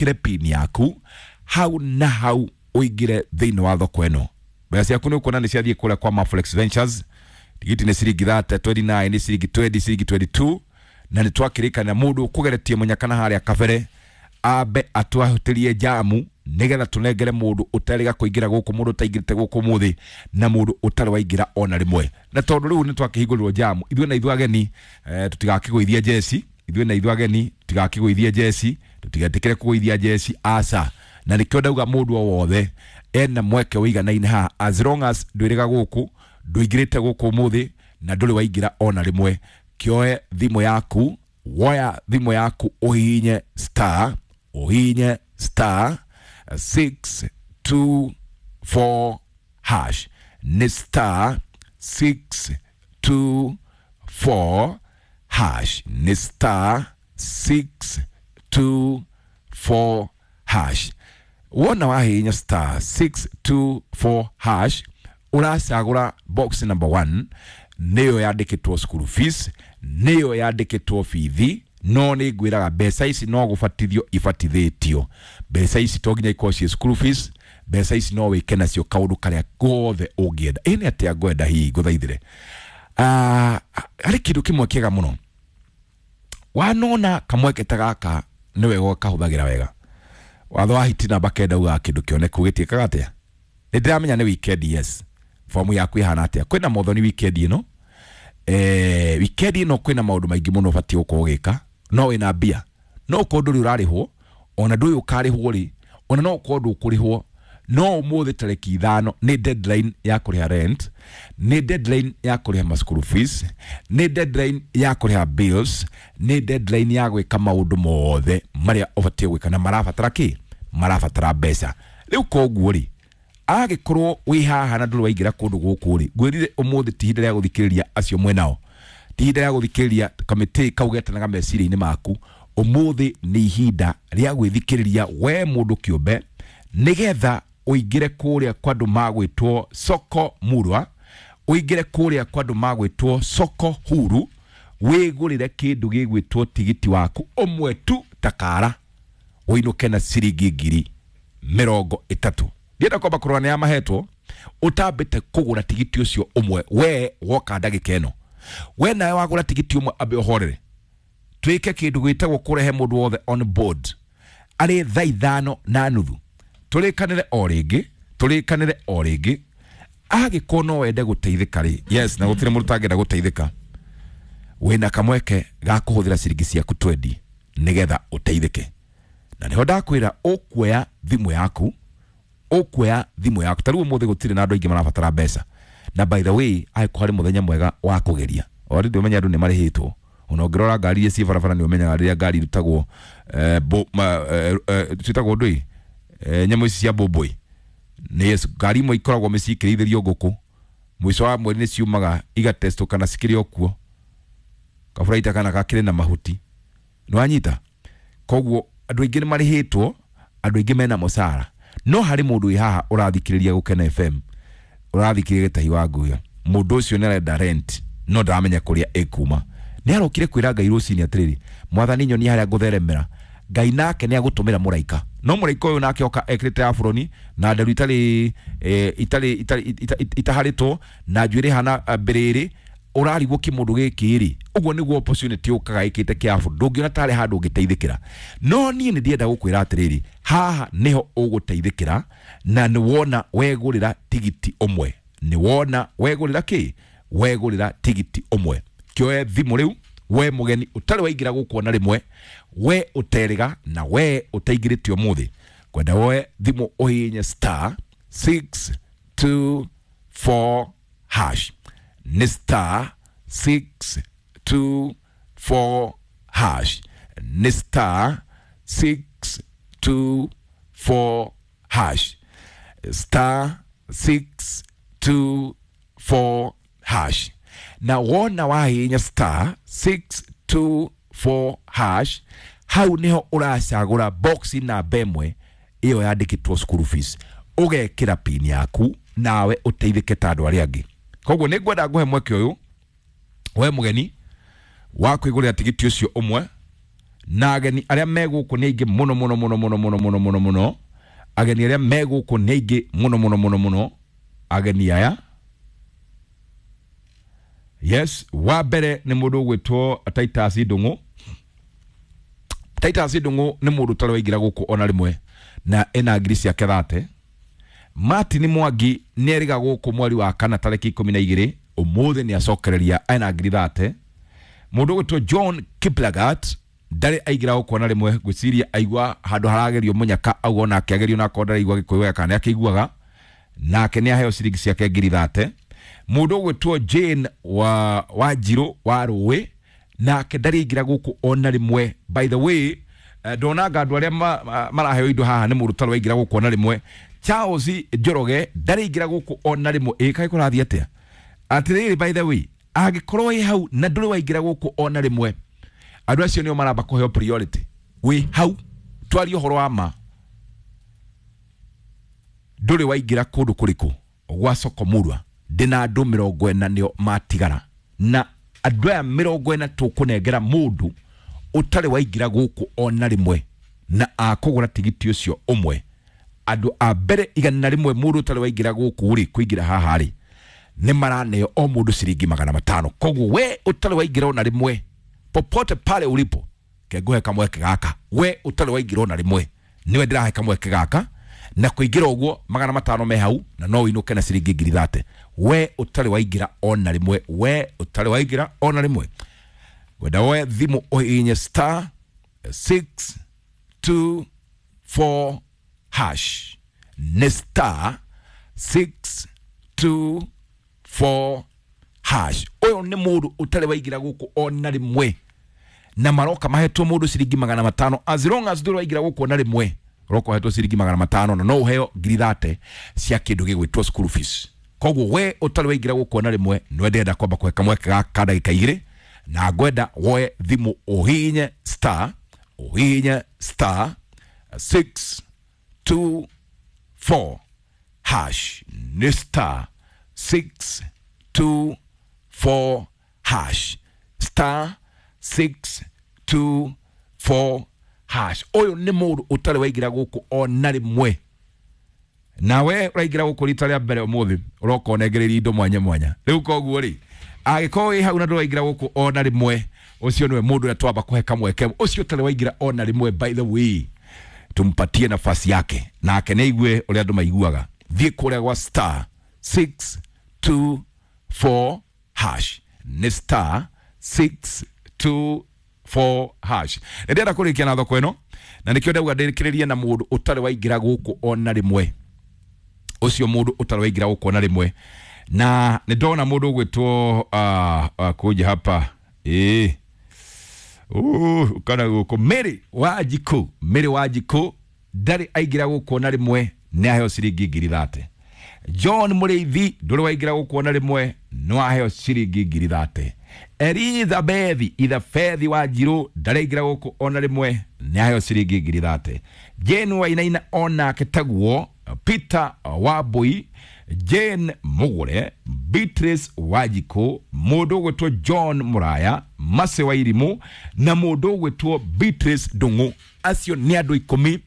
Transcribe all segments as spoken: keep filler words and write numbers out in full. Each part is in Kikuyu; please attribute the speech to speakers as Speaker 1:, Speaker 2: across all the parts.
Speaker 1: Wĩkĩre pin yaku hau na hau ũingĩre thĩinĩ wa thoko ĩno. Mbeca ciaku nĩ ũkuona nĩ ciathiĩ kũrĩa kwa Maflex Ventures. Tigiti nĩ ciringi thirty, twenty-nine nĩ ciringi twenty, ciringi twenty-two, na nĩ twakĩrĩkana mũndũ ũkũgeretie mũnyaka na harĩa kabere ambe atwahutĩrie jamu nĩgetha tũnengere mũndũ ũtarĩga kũingĩra gũkũ, mũndũ ũtaingĩrĩte gũkũ ũmũthĩ na mũndũ ũtarĩ waingĩra ona rĩmwe. Na tondũ rĩu nĩ twakĩhingũrĩrwo jamu, ithuĩ na ithuĩ ageni eh, tũtigakĩgũithie jeci, ithuĩ na ithuĩ ageni tũtigakĩgũithie jeci, tũtigetĩkĩre kũgũithia jeci, aca. Na nĩkĩo ndauga mũndũ o wothe ena mweke ũiganaine haha, as long as ndwĩrĩga gũkũ, ndũingĩrĩte gũkũ ũmũthĩ na ndũrĩ waingĩra ona rĩmwe. Kĩoe thimũ yaku, woya thimũ yaku ũhihinye star, ũhihinye star six two four hash, nĩ star six two four hash, nĩ star six two four hash. Wona wahihinya star six two four hash, ũracagũra box number one, nĩyo yandĩkĩtwo school fees, nĩyo yandĩkĩtwo bithi. No nĩ ngwĩraga mbeca ici no gũbatithio ibatithĩtio. Mbeca ici to nginya ikorwo ciĩ school fees, mbeca ici no wĩke nacio kaũndũ karĩa gothe ũngĩenda. Ĩ nĩ atĩa ngwenda hihi ngũthaithĩre? Ah, harĩ kĩndũ kĩmwe kĩega mũno wanona kamweke ta gaka, nĩ wega ũkahũthagĩra wega. Watho wa hiti namba kenda ugaga kĩndũ kĩoneku gĩtiĩkaga atĩa? Nĩ ndĩramenya nĩ weekend, yes. Fomu yaku ĩhana atĩa? Kwĩna mothoni weekend ĩno, eh, weekend ĩno kwĩna maũndũ maingĩ mũno ũbatiĩ gũkorwo ũgĩka. No wĩna mbia, no ũkorwo ndũrĩ ũrarĩhwo, ona ndũĩ ũkarĩhwo rĩ, ona no ũkorwo ndũkũrĩhwo. No ũmũthĩ tarĩki ithano nĩ deadline ya kũrĩha rent, nĩ deadline ya kũrĩha ma school fees, nĩ deadline ya kũrĩha bills, nĩ deadline ya gwĩka maũndũ mothe marĩa ũbatiĩ gwĩka na marabatara kĩ? Marabatara mbeca. Rĩu koguo rĩ, agĩkorwo wĩ haha na ndũrĩ waingĩra kũndũ gũkũ rĩ, ngwĩrire ũmũthĩ ti ihinda rĩa gũthikĩrĩria acio mwenao, ti ihinda rĩa gũthikĩrĩria kamĩtĩ kau getanaga meciria-inĩ maku. Ũmũthĩ nĩ ihinda rĩa gwĩthikĩrĩria we mũndũ kĩũmbe, nĩgetha ũingĩre kũrĩa kwa andũ magwĩtwo soko murwa, ũingĩre kũrĩa kwa andũ magwĩtwo soko huru, wĩgũrĩre kĩndũ gĩgwĩtwo tigiti waku ũmwe tu takara, ũinũke na ciringi ngiri mĩrongo ĩtatũ. Ndienda kwamba kũrora nĩ mahetwo ũtambĩte kũgũra tigiti ũcio ũmwe. We woka ndagĩka ĩno, we nawe wagũra tigiti ũmwe, ambe ũhorere, twĩke kĩndũ gĩtagwo kũrehe mũndũ wothe on board arĩ thaa ithano na nuthu. Tũrĩkanĩre o rĩngĩ, tũrĩkanĩre o rĩngĩ, angĩkorwo no wende gũteithĩka rĩ, yes, na gũtirĩ mũndũ ũtangĩenda gũteithĩka, wĩna kamweke ga kũhũthĩra ciringi ciaku twenty nĩgetha ũteithĩke. Na nĩho ndakwĩra ũkuoya thimũ yaku, ũkuoya thimũ yaku. Ta rĩu ũmũthĩ gũtirĩ na andũ aingĩ marabatara mbeca, na by the way angĩkorwo harĩ mũthenya mwega wa kũgeria, already ũmenya andũ nĩ marĩhĩtwo. Ona ũngĩrora ngari iria ciĩ barabara nĩ ũmenyaga rĩrĩa ngari irutagwo, eh, bo, ma, eh, eh, ciĩtagwo ndũĩ, eh, nyamũ ici cia mbũmbũĩ. Nĩ ngari imwe ikoragwo mĩciĩ ikĩrĩithĩrio ngũkũ, mũico wa mweri nĩ ciumaga igatestwo kana cikĩrĩ o kuo, kaburaita kana gakĩrĩ na mahuti, nĩ wanyita. Koguo andũ aingĩ nĩ marĩhĩtwo, andũ aingĩ mena mũcara. No harĩ mũndũ wĩ haha ũrathikĩrĩria Gũkena F M, ũrathikĩrĩria Gĩtahi wa Nguya, mũndũ ũcio nĩ arenda rent no ndaramenya kũrĩa ĩkuma. Nĩ arokire kwĩra Ngai rũcinĩ atĩrĩrĩ, Mwathani nyonia harĩa ngũtheremera. Ngai nake nĩ agũtũmĩra mũraika, no mũraika ũyũ nake oka ekĩrĩte aburoni na nderu itarĩ, eh, itarĩ, itarĩ, ita-, itaharĩtwo na njuĩrĩ hana mbĩrĩrĩ, ũrarigwo kĩmũndũ gĩkĩ rĩ. Ũguo nĩguo opportunity ũkaga ĩkĩte kĩabu, ndũngĩona tarĩ handũ ũngĩteithĩkĩra. No niĩ nĩ ndĩrenda gũkwĩra atĩrĩrĩ, haha nĩho ũgũteithĩkĩra, na nĩ wona wegũrĩra tigiti ũmwe, nĩ wona wegũrĩra kĩ? Wegũrĩra tigiti ũmwe. Kĩoe thimũ rĩu, we mũgeni ũtarĩ waingĩra gũkũ ona rĩmwe, we ũterĩga na we ũtaingĩrĩte ũmũthĩ, kwenda woe thimũ ũhihinye star six two four hash, nĩ star six two four hash, nĩ star six two four hash, star six two four hash. Na wona wahihinya star six two four hash, hau niho ũracagũra box namba ĩmwe ĩyo yandĩkĩtwo school fees, ũgekĩra pin yaku nawe ũteithĩke ta andũ arĩa angĩ. Koguo nĩ ngwenda ngũhe mweke ũyũ we mũgeni wa kwĩgũrĩra tigiti ũcio ũmwe. Na ageni arĩa me gũkũ nĩ aingĩ mũno mũno mũno mũno mũno mũno mũno mũno. Ageni arĩa me gũkũ nĩ aingĩ mũno mũno mũno mũno. Ageni aya, yes, wa mbere nĩ mũndũ ũgwĩtwo Titus Ndung'u. Titus Ndung'u nĩ mũndũ ũtarĩ waingĩra gũkũ ona rĩmwe na ena ngiri ciake thate. Martin Mwangi nĩ erĩga gũkũ mweri wa kana tarĩki ikũmi na igĩrĩ, ũmũthĩ nĩ acokereria ena ngiri thate. Mũndũ ũgwĩtwo John Kiplagat ndarĩ aingĩra gũkũ ona rĩmwe, ngwĩciria aigua handũ haragerio mũnyaka auga onake agerio na akorwo ndaraigua gĩkũyũ wega kana nĩ akĩiguaga, nake nĩ aheo ciringi ciake ngiri thate. Mũndũ ũgwĩtwo Jane wa Wanjirũ wa Rũĩ nake ndarĩ aingĩra gũkũ ona rĩmwe. By the way, ndonanga andũ arĩa maraheo indo haha nĩ mũndũ ũtarĩ waingĩra gũkũ ona rĩmwe. Charles Njoroge ndarĩ aingĩra gũkũ ona rĩmwe. Ĩ kaĩ kũrathiĩ atĩa? Atĩrĩrĩ, by the way, angĩkorwo wĩ hau na ndũrĩ waingĩra gũkũ ona rĩmwe, andũ acio nĩo maramba kũheo priority. Wĩ hau twarie ũhoro wa ma, ndũrĩ waingĩra kũndũ kũrĩkũ gwa soko murwa, ndĩna andũ mĩrongo ĩna nĩo matigara, na andũ aya mĩrongo ĩna tũkũnengera mũndũ ũtarĩ waingĩra gũkũ ona rĩmwe na akũgũra tigiti ũcio ũmwe. Andũ a mbere igana rĩmwe mũndũ ũtarĩ waingĩra gũkũ rĩ, kũingĩra haha rĩ, nĩ maraneo o mũndũ ciringi magana matano. Koguo we ũtarĩ waingĩra ona rĩmwe, popote pale ulipo, kenguhe kamweke gaka. We ũtarĩ waingĩra ona rĩmwe, niwe ndĩrahe kamweke gaka, na kũingĩra ũguo magana matano me hau, na no ũinũke na ciringi ngiri thate. We ũtarĩ waingĩra ona rĩmwe, we ũtarĩ waingĩra ona rĩmwe, wenda woe thimũ ũhihinye star six two four hash. Nĩ star six two four hash. Ũyũ nĩ mũndũ ũtarĩ waingĩra gũkũ ona rĩmwe, na maroka mahetwo mũndũ ciringi magana matano. As long as ndũrĩ waingĩra gũkũ ona rĩmwe, ũroka ũhetwo ciringi magana matano na no ũheo ngiri thate cia kĩndũ gĩgwĩtwo school fees. Koguo we ũtarĩ waingĩra gũkũ ona rĩmwe, nĩwe ndĩrenda kwamba kũhe kamweke gaka ndagĩka igĩrĩ, na ngwenda woe thimũ ũhihinye star, ũhihinye star six two four hash. Nĩ star six two four hash, star six two four hash. Ũyũ nĩ mũndũ ũtarĩ waingĩra gũkũ ona rĩmwe, nawe ũraingĩra gũkũ rita rĩa mbere ũmũthĩ, ũroka ũnengereria indo mwanya mwanya. Rĩu koguo rĩ, angĩkorwo wĩ hau na ndũraingĩra gũkũ ona rĩmwe, ũcio nĩwe mũndũ ũrĩa twamba kũhe kamweke, ũcio ũtarĩ waingĩra ona rĩmwe. By the way, tumpatie nafasi yake nake nĩ aigue ũrĩa andũ maiguaga. Thiĩ kũrĩa gwa star six two four hash. Nĩ star six two four hash. Nĩ ndĩrenda kũrĩkia na thoko ĩno, na nĩkĩo ndauga ndĩrĩkĩrĩrie na mũndũ ũtarĩ waingĩra gũkũ ona rĩmwe. Ũcio mũndũ ũtarĩ waingĩra gũkũ ona rĩmwe, na nĩ ndona mũndũ ũgwĩtwo uh, uh, kuja hapa ĩĩ uh, kana gũkũ Mary Wanjikũ. Mary Wanjikũ ndarĩ aingĩra gũkũ ona rĩmwe, nĩ aheo ciringi ngiri thate. John Mũrĩithi ndũrĩ waingĩra gũkũ ona rĩmwe, nĩ waheo ciringi ngiri thate. Elizabeth Ithabethi Wanjirũ ndarĩ aingĩra gũkũ ona rĩmwe, nĩ aheo ciringi ngiri thate. Jane Wainaina onake taguo, Peter Wambui, Jane Mugure, Beatrice Wanjikũ, mũndũ ũgwĩtwo John Muraya, Mase Wairimu na mũndũ ũgwĩtwo Beatrice Ndung'u. Acio nĩ andũ ikũmi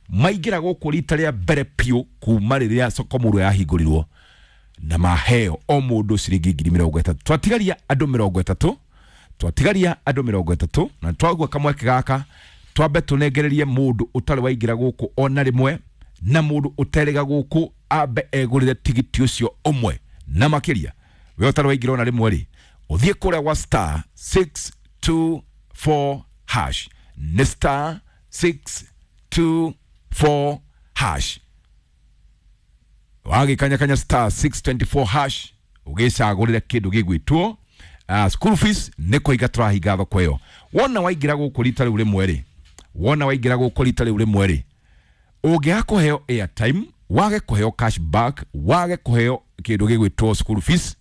Speaker 1: maingĩra gũkũ rita rĩa mbere piũ kuma rĩrĩa soko murwa yahingũrirwo, na maheo o mũndũ ciringi ngiri mĩrongo ĩtatũ. Twatigaria andũ mĩrongo ĩtatũ, twatigaria andũ mĩrongo ĩtatũ, na twagua kamweke gaka twambe tũnengererie mũndũ ũtarĩ waingĩra gũkũ ona rĩmwe, na mũndũ ũterĩga gũkũ ambe egũrĩre tigiti ũcio ũmwe. Na makĩria we ũtarĩ waingĩra ona rĩmwe rĩ, ũthiĩ kũrĩa gwa star six two four hash. Nĩ star six two four hash. Wagĩkanyakanya star six twenty four hash ũgĩcagũrĩre kĩndũ gĩgwĩtwo uh, school fees. Nĩ kũhinga tũrahinga thoko ĩyo. Wona waingĩra gũkũ rita rĩu rĩmwe rĩ, wona waingĩra gũkũ rita rĩu rĩmwe rĩ, ũngĩaga kũheo airtime, wage kũheo cash back, wage kũheo kĩndũ gĩgwĩtwo school fees,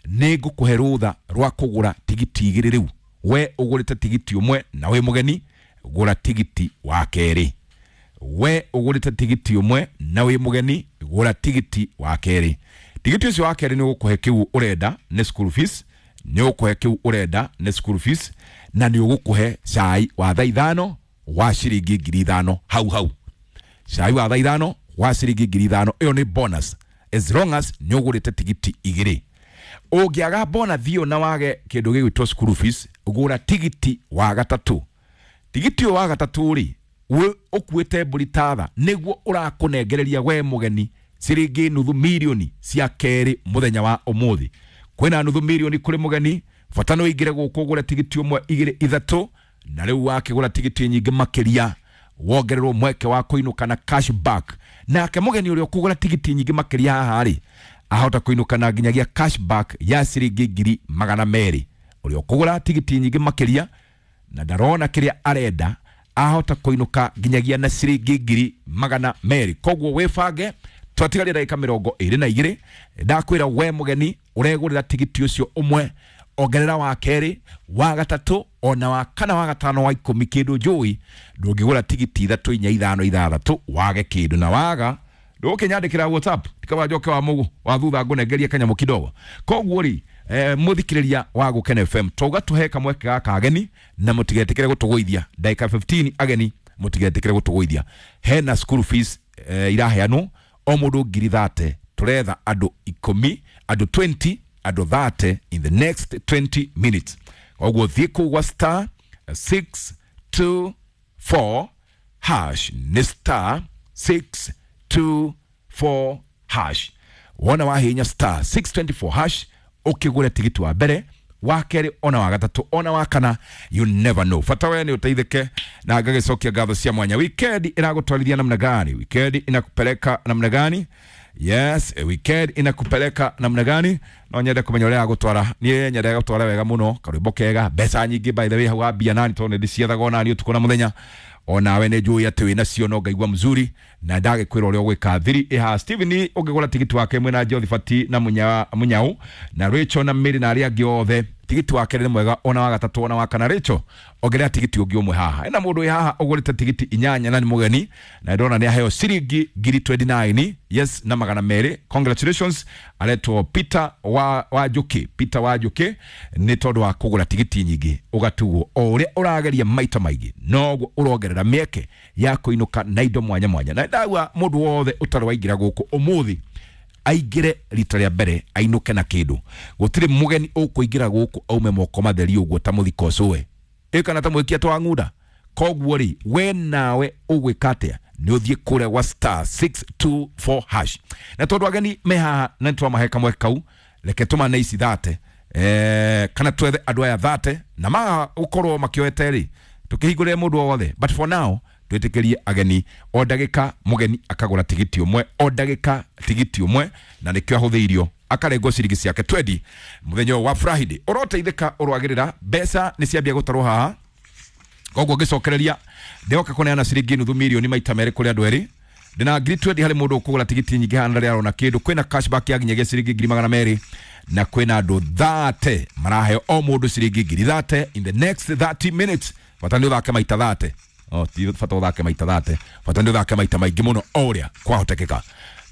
Speaker 1: nĩ ngũkũhe rũtha rwa kũgũra tigiti igĩrĩ. Rĩu we ũgũrĩte tigiti ũmwe na wĩ mũgeni, gũra tigiti wa kerĩ. We ũgũrĩte tigiti ũmwe na wĩ mũgeni, gũra tigiti wa kerĩ. Tigiti ũcio wa kerĩ nĩ ũgũkũhe kĩu ũrenda nĩ school fees, nĩ ũgũkũhe kĩu ũrenda nĩ school fees, na nĩ ũgũkũhe cai wa thaa ithano wa ciringi ngiri ithano hau hau. Cai wa thaa ithano wa ciringi ngiri ithano ĩyo nĩ bonus as long as nĩ ũgũrĩte tigiti igĩrĩ. Ũngĩaga bonus ĩyo na wage kĩndũ gĩgwĩtwo school fees, gũra tigiti wa gatatũ. Tigiti ũyũ wa gatatũ rĩ, ũkuĩte mbũri tatha nĩguo ũrakũnengereria we mũgeni ciringi nuthu milioni cia kerĩ mũthenya wa ũmũthĩ. Kwĩna nuthu milioni kũrĩ mũgeni, bata nĩ ũingĩre gũkũ ũgũre tigiti ũmwe igĩrĩ ithatũ, na rĩu wakĩgũra tigiti nyingĩ makĩria wongererwo mweke wa kũinũka na cash back. Nake mũgeni ũrĩa ũkũgũra tigiti nyingĩ makĩria haha rĩ, ahota kũinũka na nginyagia cash back ya ciringi ngiri magana merĩ. Ũrĩa ũkũgũra tigiti nyingĩ makĩria na ndarona kĩrĩa arenda ahota kũinũka nginyagia na ciringi ngiri magana merĩ. Koguo wĩbange, twatigaria ndagĩka mĩrongo ĩrĩ na igĩrĩ. Ndakwĩra we mũgeni ũregũrĩra tigiti ũcio ũmwe, ongerera wa kerĩ, wa gatatũ, ona wa kana, wa gatano, wa ikũmi, kĩndũ njũĩ. Ndũngĩgũra tigiti ithatũ inya ithano ithathatũ wage kĩndũ, na waga ndũkĩnyandĩkĩra WhatsApp tikaba njoke wa mũgũ wa thutha ngũnengerie kanyamũ kidogo. Koguo rĩ, eh, mũthikĩrĩria wa Gũkena F M, twauga tũhe kamweke gaka ageni na mũtigetĩkĩre gũtũgũithia. Ndagĩka fifteen ageni mũtigetĩkĩre gũtũgũithia. Hena school fees eh, iraheanwo o mũndũ ngiri thate. Tũretha andũ ikũmi, andũ twenty, andũ thirty in the next twenty minutes. Koguo thiĩ kũu gwa star six two four hash, nĩ star six two four hash. Wona wahinya star six twenty-four hash ukigure tigiti wa mbere, wa kerĩ, ona wa gatatũ, ona wa kana, you never know. Bata we nĩ ũteithĩke na ngagĩcokia ngatho cia mwanya. Weekend ĩragũtwarithia namna gani? Weekend inakupeleka namna gani? Yes, weekend inakupeleka namna gani? No nyende kũmenya ũrĩa agũtwara. Niĩ nyende gũtwara wega mũno, karwĩmbo kega, mbeca nyingĩ by the way, hau wambia nani tondũ nĩndĩciethagwo nani ũtukũ na mũthenya. Onawe nĩ njũĩ atĩ wĩna cio no ngaigua mzuri na ndagĩkwĩra ũrĩa ũgwĩka. Thiri ĩha Steven ũngĩgũra tigiti wake mwena Jothibati na Munyau na Rachel na Mary na arĩa angĩ othe, tigiti wake nĩ mwega, ona wa gatatũ ona wa kana. Rachel ongerera tigiti ũngĩ ũmwe haha. Ena mũndũ wĩ haha ũgũrĩte tigiti inyanya na nĩ mũgeni na ndona nĩ aheo ciringi ngiri twenty-nine, yes, na magana merĩ. Congratulations, aretwo Peter wa Wanjuki. Peter Wanjuki nĩ tondũ wa kũgũra tigiti nyingĩ ũgatugwo o ũrĩa ũrageria maita maingĩ noguo ũrongerera mĩeke ya kũinũka na indo mwanya mwanya. Na ndauga mũndũ wothe ũtarĩ waingĩra gũkũ ũmũthĩ aingĩre rita rĩa mbere ainũke na kĩndũ. Gũtirĩ mũgeni ũkũingĩra gũkũ aume moko matheri ũguo ta mũthiko ũcũwe ĩ kana ta mwĩkia twa ng'unda. Koguo rĩ, we nawe ũgwĩka atĩa? Nĩ ũthiĩ kũrĩa gwa star six two four hash. Na tondũ ageni me haha na nĩtwamahe kamweke kau, reke tũmane ici thate, eh, kana twethe andũ aya thate na maga gũkorwo makĩoete rĩ, tũkĩhingũrĩre mũndũ o wothe. But for now twĩtĩkĩrie ageni o ndagĩka mũgeni akagũra tigiti ũmwe, o ndagĩka tigiti ũmwe, na nĩkĩo ahũthĩirio akarengwo ciringi ciake twenty mũthenya wa Friday. Ũroteithĩka ũrwagĩrĩra mbeca nĩ ciambia gũtarwo haha. Koguo ngĩcokereria ndĩhoka kũneana ciringi nuthu milioni maita merĩ kũrĩ andũ erĩ. Ndĩna ngiri twenty harĩ mũndũ ũkũgũra tigiti nyingĩ haha na ndarĩ arona kĩndũ. Kwĩna cashback ya nginyagia ciringi ngiri magana merĩ na kwĩna andũ thirty maraheo o mũndũ ciringi ngiri thirty in the next thirty minutes. Bata nĩ ũthake maita thirty. Oh, ti bata ũthake maita thirty. Bata nĩ ũthake maita maingĩ mũno o ũrĩa kwahotekeka.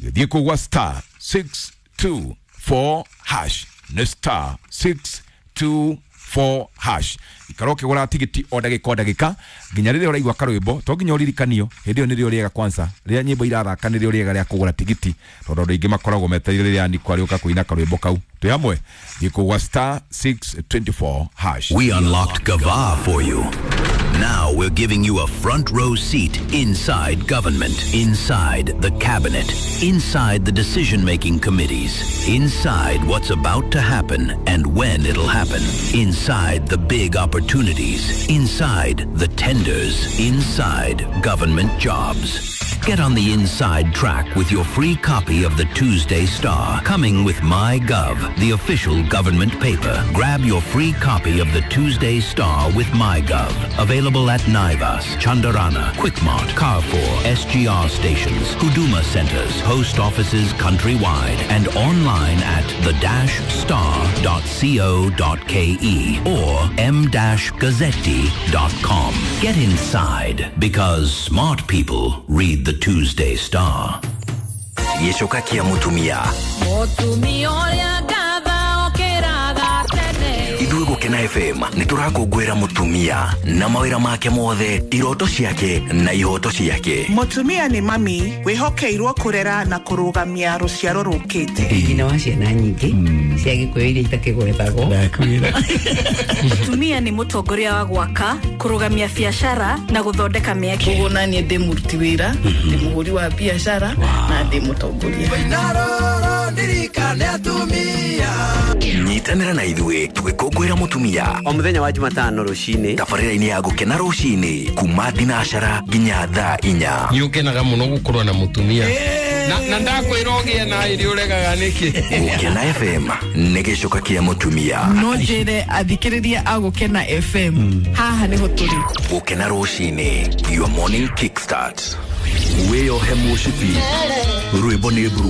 Speaker 1: Gĩthiĩ kũu gwa star six two four hash, nĩ star six two four hash. Ikara ũkĩgũra tigiti o ndagĩka o ndagĩka nginya rĩrĩa ũraigua karwĩmbo, to nginya ũririkanio hĩndĩ ĩyo nĩrĩo rĩega kwanza. Rĩrĩa nyĩmbo irathaka nĩrĩo rĩega rĩa kũgũra tigiti, tondũ andũ aingĩ makoragwo metereire rĩrĩa Nico arĩũka kũina karwĩmbo kau. Twĩ hamwe, thiĩ kũu gwa star six twenty-four hash.
Speaker 2: We unlocked Gava for you. Now we're giving you a front row seat inside government, inside the cabinet, inside the decision-making committees, inside what's about to happen and when it'll happen, inside the big opportunities, inside the tenders, inside government jobs. Get on the inside track with your free copy of the Tuesday Star, coming with MyGov, the official government paper. Grab your free copy of the Tuesday Star with MyGov. Available at Naivas, Chandarana, Quickmart, Carrefour, S G R stations, Huduma centers, post offices countrywide, and online at the dash star dot co dot ke or m dash gazzetti dot com. Get inside, because smart people read the Tuesday Star.
Speaker 3: Gĩcoka kĩa mũtumia.
Speaker 4: Mũtumia ũrĩa ngatha okĩraga tene.
Speaker 3: Ithuĩ gũkena Gũkena F M nĩ tũrakũngũĩra mũtumia na mawĩra make mothe, iroto ciake na ihoto ciake.
Speaker 4: Mũtumia nĩ mami wĩhokeirwo kũrera na kũrũgamia rũciaro rũkĩte.
Speaker 5: Nyina wa ciana nyingĩ cia Gĩkũyũ iria itakĩgwetagwo.
Speaker 6: Mũtumia nĩ mũtongoria wa gwaka, kũrũgamia biacara na gũthondeka mĩeke.
Speaker 7: Koguo naniĩ ndĩ mũruti wĩra, ndĩ mũhũri wa biacara na ndĩ mũtongoria.
Speaker 3: Nyitanĩra na ithuĩ tũgĩkũngũĩra mũtumia
Speaker 8: o mũthenya wa Jumatano rũcinĩ
Speaker 3: tabarĩra-inĩ ya Gũkena rũcinĩ kuma thinacara nginya thaa inya.
Speaker 9: Nĩ ũkenaga mũno gũkorwo na mũtumia na na ndakwĩra ũgĩe na ĩrĩ ũregaga nĩkĩ.
Speaker 3: Gũkena F M nĩ gĩcoka kĩa mũtumia.
Speaker 7: No njĩre athikĩrĩria a Gũkena F M haha nĩho tũrĩ.
Speaker 3: Gũkena rũcinĩ, your morning kickstart.
Speaker 2: Wĩyohe mũcibi rwĩmbo nĩ mburugu.